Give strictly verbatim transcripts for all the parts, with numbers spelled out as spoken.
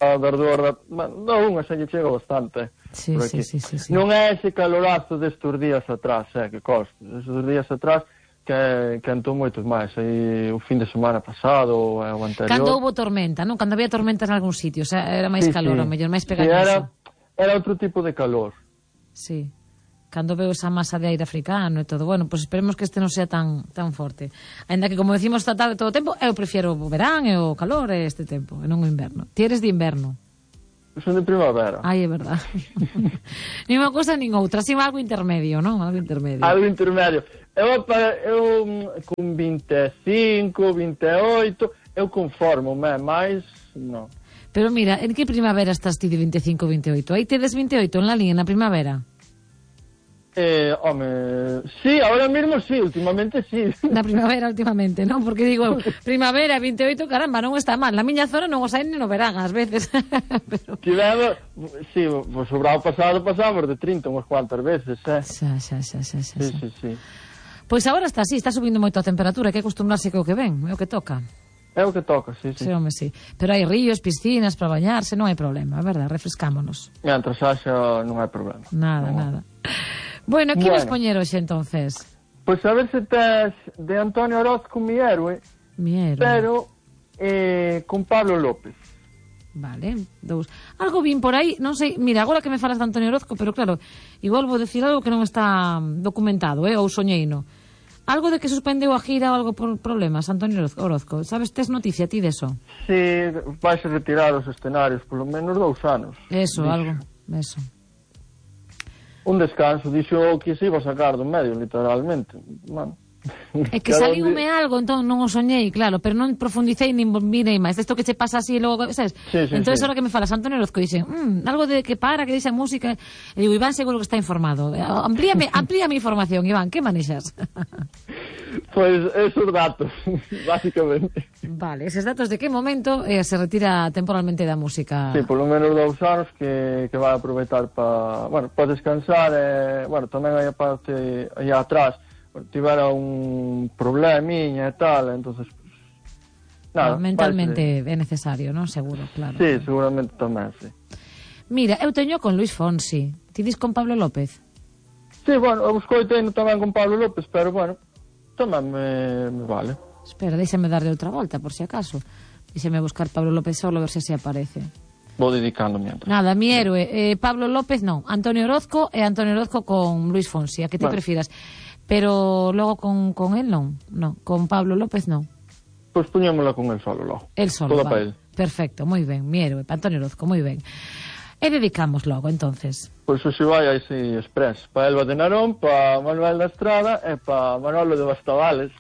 a verdor da... Da unha xa lle chega bastante. Sí, sí, sí, sí, sí. Non é ese calorazo destes días atrás, eh, que costa. Estes días atrás que, que antou moitos máis. Aí o fin de semana pasado, o anterior... Cando houve tormenta, non? Cando había tormentas en algún sitio, o sea, era máis sí, calor, sí. o mellor, máis Sí, pegañoso. era, era outro tipo de calor. Sí. Cando veo esa masa de aire africano e todo. Bueno, pois pues esperemos que este non sea tan tan forte. Ainda que, como decimos esta tarde todo o tempo, eu prefiro o verán e o calor e este tempo, e non o inverno. Ti eres de inverno? Son de primavera. Ai, é verdad. Nin unha cousa nin outra, así algo intermedio, non? Algo intermedio. Algo intermedio. Eu, eu con vinte e cinco, vinte e oito, eu conformo, máis non. Pero mira, en que primavera estás ti de vinte e cinco, vinte e oito? Aí tedes vinte e oito en la línea, na primavera? Eh, home, sí, ahora mismo sí, últimamente sí. Na primavera últimamente, non? Porque digo, primavera, vinte e oito, caramba, non está mal. Na miña zona non os hai ni no verán, ás veces. Pero... Tivemos, sí, pues o brao pasado pasamos de trinta unhas cuantas veces, eh? Xa, xa, xa, xa, xa. Sí, sí, sí. Pois agora está así, está subindo moito a temperatura, hai que acostumbrarse co que ven, é o que toca. É o que toca, sí, sí. Sí, home, sí. Pero hai ríos, piscinas para bañarse, non hai problema, é verdad, refrescámonos. Mientras haxa non hai problema. Nada, non. nada. Bueno, que bueno. vas poñer hoxe, entonces? Pois pues a ver se tes de Antonio Orozco Mi Héroe, Mi Héroe. Pero eh, con Pablo López. Vale, dous. Algo vin por aí, non sei, mira, agora que me falas de Antonio Orozco, pero claro, igual vou decir algo que non está documentado, eh, ou soñeino. Algo de que suspendeu a gira ou algo por problemas, Antonio Orozco. Sabes, tes noticia ti deso? Si, vais a retirar os escenarios polo menos dous anos. Eso, dixo. algo, eso. Un descanso, dixo que se iba a sacar do medio, literalmente. Bueno, é que saliume algo, entón non o soñei, claro, pero non profundicei nin mirei máis. Isto que che pasa así e logo, sabes? Sí, sí, entón, sí. Ahora que me falas Antonio Orozco, dixen, mmm, algo de que para, que deixa música. E digo, Iván seguro que está informado. Amplíame, amplíame información, Iván, que manexas? Pois pues esos datos, básicamente. Vale, eses datos de que momento eh, se retira temporalmente da música? Sí, polo menos dous anos que, que vai aproveitar para, bueno, para descansar e, bueno, tamén hai a parte aí atrás, tivera un problemiña e tal, entonces pues, nada, no, mentalmente é necesario, non? Seguro, claro. Sí, seguramente tamén, sí. Mira, eu teño con Luis Fonsi. Ti dis con Pablo López? Sí, bueno, eu escoitei tamén con Pablo López, pero bueno, tamén me, me vale. Espera, déxame darle outra volta, por si acaso. Déxame buscar Pablo López solo, a ver se se aparece. Vou dedicando mientras. Nada, Mi Héroe, eh, Pablo López non, Antonio Orozco e Antonio Orozco con Luis Fonsi, a que te bueno. prefiras. Pero logo con, con él non, non, con Pablo López non. Pois pues poñémola con el solo logo. El solo, toda vale. Para él. Perfecto, moi ben, Mi Héroe, para Antonio Orozco, moi ben. E dedicamos logo, entonces. Pois pues, o se vai aí si express, para Elba de Narón, para Manuel da Estrada e para Manolo de Bastavales.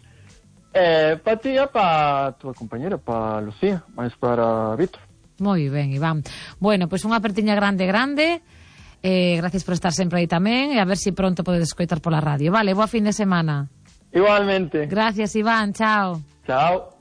E para ti e para a tua compañera, para Lucía, máis para Víctor. Moi ben, Iván. Bueno, pois pues unha apertiña grande, grande. Eh, gracias por estar sempre aí tamén e a ver se si pronto podedes escoitar pola radio. Vale, boa fin de semana. Igualmente. Gracias, Iván, chao. Chao.